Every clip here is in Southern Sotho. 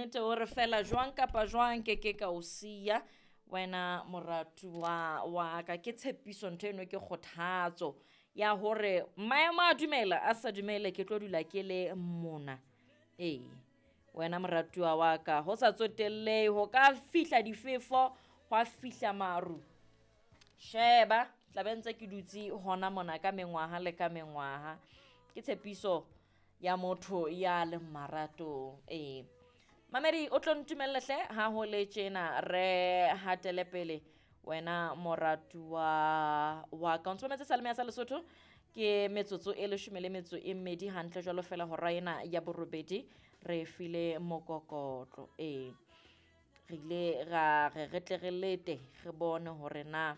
nnete o re fela jwang kapa jwang ke ke ka o siya wena moratuwa wa ka. Ke tshepiso ntho eno, ke kgothatso ya hore maemo a dumela a sa dumele, ke tlo dula ke le mona. Ee, wena moratuwa wa ka, ho sa tsotellehe ho ka fihla difefo, hwa fihla maru, sheba tla be ntse ke dutse hona mona ka mengwaha le ka mengwaha. Ke tshepiso ya motho ya leng maratong. Ee mamedi, o tlo ntumelle hle ha ho le tjena, re hatele pele wena moratuwa wa ka. O ntse mametse Salome ya sa Lesotho, ke metsotso e 12 hantle jwalo fela hora ena ya borobedi re file mokokotlo. Ee, re ile ra re re tle re lete re bone hore na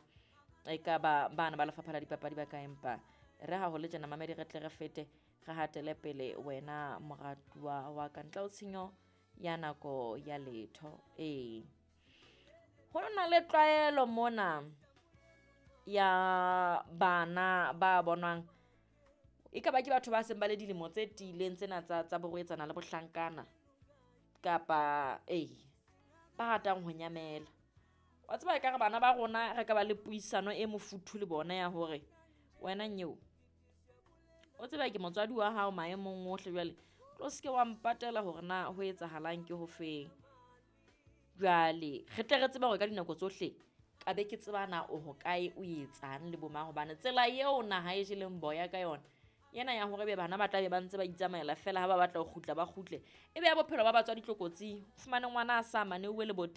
e ka ba bana ba lefapha la dipapadi ba ka, empa re ha ho le tjena mamedi re tle re fete re hatele pele wena moratuwa wa ka, ntle ho tshenyo ya nako ya letho. Ee, ho na le tlwaelo mona ya bana ba bonwang e ka ba ke batho ba seng ba le dilemo tse tiileng tsena tsa borwetsana le bohlankana, kapa ee ba ratang ho nyamela. Wa tseba ekare bana ba rona re ka ba le puisano e mofuthu le bona ya hore wena nyeo, o tseba ke motswadi wa hao maemong ohle, jwale tlo se ke wa mpatela hore na ho etsahalang ke ho feng. Jwale re tle re tsebe hore ka dinako tsohle ka be ke tseba na o hokae, o etsang le bo mang, hobane tsela eo naha e jeleng boya ka yona ena ya hore be bana ba tla be ba ntse ba itsamaela fela, ha ba batla ho kgutla ba kgutle, e be ya bophelo ba batswadi tlokotsing. O fumane ngwana a sa maneuwe leboteng.